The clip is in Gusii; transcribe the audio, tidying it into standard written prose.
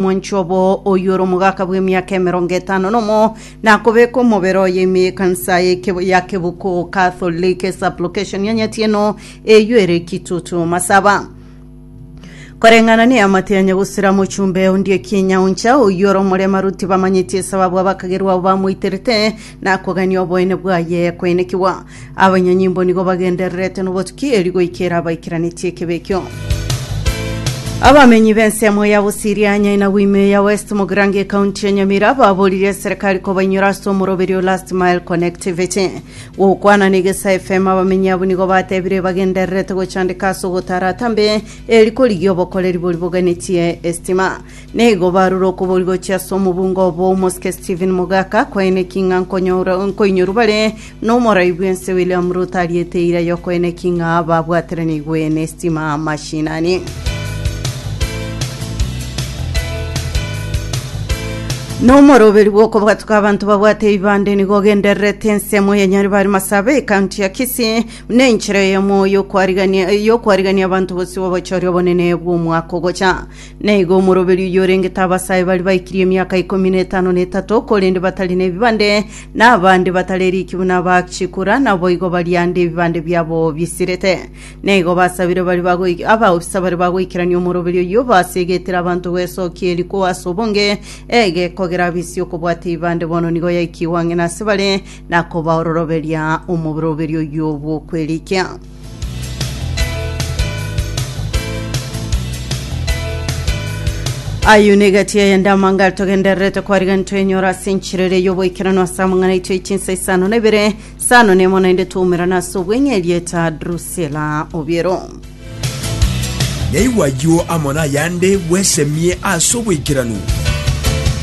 Omwanchi obo oyio ore omogaka bw'emiaka 50 nakobeka omobere oye ime y'ekanisa ya Kebuko Catholic Supplication ya Nyatieno eyio ere Kitutu Masaba. Koreng'ana neamate ya nyagusira mochumbe onde ekinyauncha oyio ore omoremaru tibamanyeti esababu abakagerwa abo bamoiterete nakogania oboene bwaye koenekigwa. Abanyanyimbo nigo bagendererete nobotuki erio goikera abaikeranetie ekebe ekio. Abamenyi b'ensemo ya Busiria, Nyainagu ime ya West Mugirango ekaunti ya Nyamira baboririe eserekari kobainyora ase omoroberio Last Mile Connectivity. Gokwana na Egesa FM abamenyi abwo nigo batebire bagendererete gochandeka ase ogotara atambe eri korigia obokoreri boria boganetie estima. Nigo barure okobori gochia ase omobunga obo omosike Stephen Mogaka koeneki ng'a nkoinyorwa bare Nomorai bw'ense William Ruto ariete eira y'okoeneki ng'a babwateranigwe n'estima mashinani. Nomoroberi bw'okobwatuka abanto babwate ebibande nigo ogendererete ensemo ya Nyaribari Masabe ekaunti ya Kisii buna enchera eyemo y'okwarigania y'okwarigania abanto bosio b'obochori obonene bw'omwaka ogocha. Naigo omoroberi oyio orengete abasae baria baikirie emiaka ikomi na etano na etato, korende batari nebibande, na abande batareriki buna abachikura, naboigo baria ande ebibande biabo bisirete. Naigo basabire baria bagoi abaofisa baria bagoikerania omoroberi oyio basegetire abanto gwesokia eriko ase obonge, egekogera abisi okobwata ebibande bono nigo yaikigwe ang'e nase bare, na kobaororoberia omoroberi oyio bw'okwerikia. Ayio negati eyende amangare togendererete kwarigani twenyora ase enchera ere y'oboikeranu ase amang'ana aito echinsa isano na ibere sano nemo naende twaumerana ase obweng'e erieta Drusilla Obiero. Naigwe ayio amo nayande bwesemie ase oboikeranu.